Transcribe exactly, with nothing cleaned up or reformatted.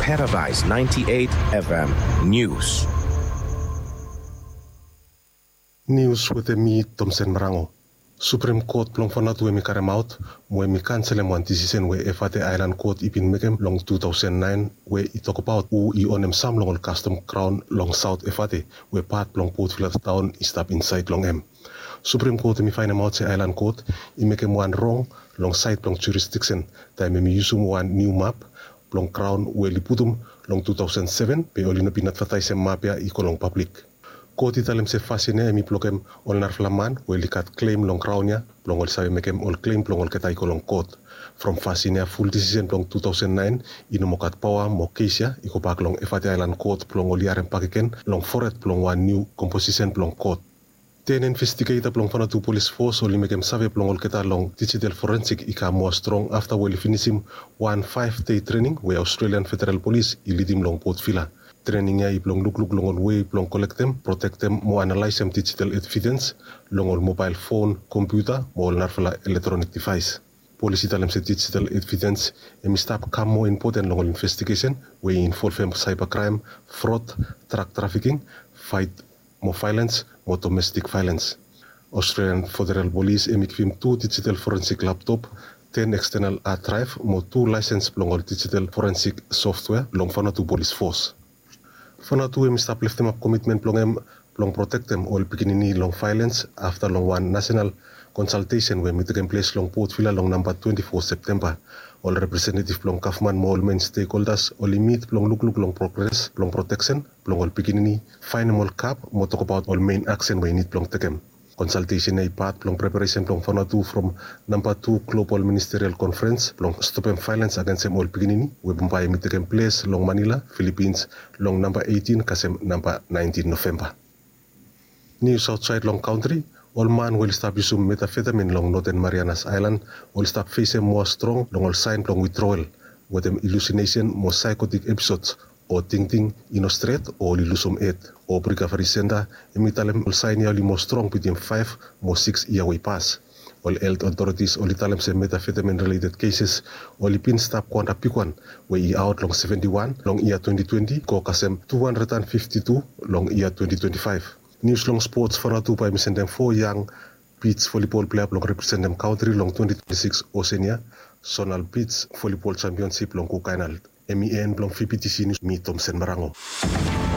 Paradise ninety-eight F M News. Nius wetem mi, Tomsen Marango. Suprem Kot blong Vanuatu hem i karemaot mo hem i kanselem wan disisen we Efate Aelan Kot i bin mekem long tu taosen naen, we i tokbaot hu i onem sam long ol kastom graon long Saot Efate, we pat blong Port Vila taon i stap insaed long hem. Suprem Kot hem i faenemaot se Aelan Kot i mekem wan rong long saed blong jurisdiksen taem hem i yusum wan niu map blong graon we oli putum long tu taosen seven, be oli no bin advataesem map ya i go long pablik. Kot i talem se fasin ya hem i blokem ol narafala man we oli gat klem long graon ya blong oli save mekem ol klem blong olgeta i go long kot. From fasin ya, ful disisen blong tu taosen naen i no moa gat paoa mo kes ya i gobak long Efate Aelan Kot blong oli harem bakegen long fored blong wan niu komposisen blong kot. Ten investigeta blong Vanuatu Polis Fos oli mekem save blong olgeta long dijital forensik i kam moa strong afta we oli finisim wan faef dei trening we Australian Federal Polis i lidim long Port Vila. Trening ya i blong lukluk long ol wei blong kolektem, protektem mo analaesem dijital evidens long ol mobael fon, kompiuta mo ol narafala elektronik divaes. Polis i talem se dijital evidens hem i stap kam moa impoten long ol investigesen we i involvem saeba kraem, frod, drak trafiking, faet mo vaelens mo domestik vaelens. Australian Federal Polis hem i givim tu dijital forensik laptop, ten ekstenal had draev mo tu laesens blong ol dijital forensik softwea long Vanuatu Polis Fos. Vanuatu hem i stap leftemap komitmen blong hem blong protektem ol pikinini long vaelens afta long wan nasenal konsaltesen we hem i tekem ples long Port Vila long namba twenti fo Septemba. Ol representetiv blong gavman mo ol men stekholdas oli mit blong lukluk long progres blong proteksen blong ol pikinini, faenem ol gap mo tokbaot ol men aksen we i nid blong tekem. Konsaltesen ya i pat blong preparesen blong Vanuatu from namba tu Global Ministerial Konferens blong stopem vaelens agensem ol pikinini we bambae hem i tekem ples long Manila, Filipins, long namba eitin kasem namba naentin Novemba. Nius aotsaed long kantri. Ol man we oli stap yusum metafetamin long Noten Marianas Aelan oli stap fesem moa strong long ol saen blong witroel, wetem ilusinesen mo saekotik episods, o tingting i no stret, o oli lusum hed. Hope Recovery Centre hem i talem ol saen ya oli moa strong bitim faef mo sikis yia we i pas. Ol helt otoritis oli talem se metafetamin rileted keses oli bin stap go antap bigwan, we i aot long seventi wan long yia twenti twenti, go kasem tu handred and fifti tu long yia twenti twenti faef. Nius long spots. Vanuatu bae hem i sendem fo yang bij volibol plea blong representem kantri long twenti twenti sikis Oseania Sonal Bij Volibol Jampionsip long Kuk Aelan. Hem i en blong V B T C Nius, mi Tomsen Marango.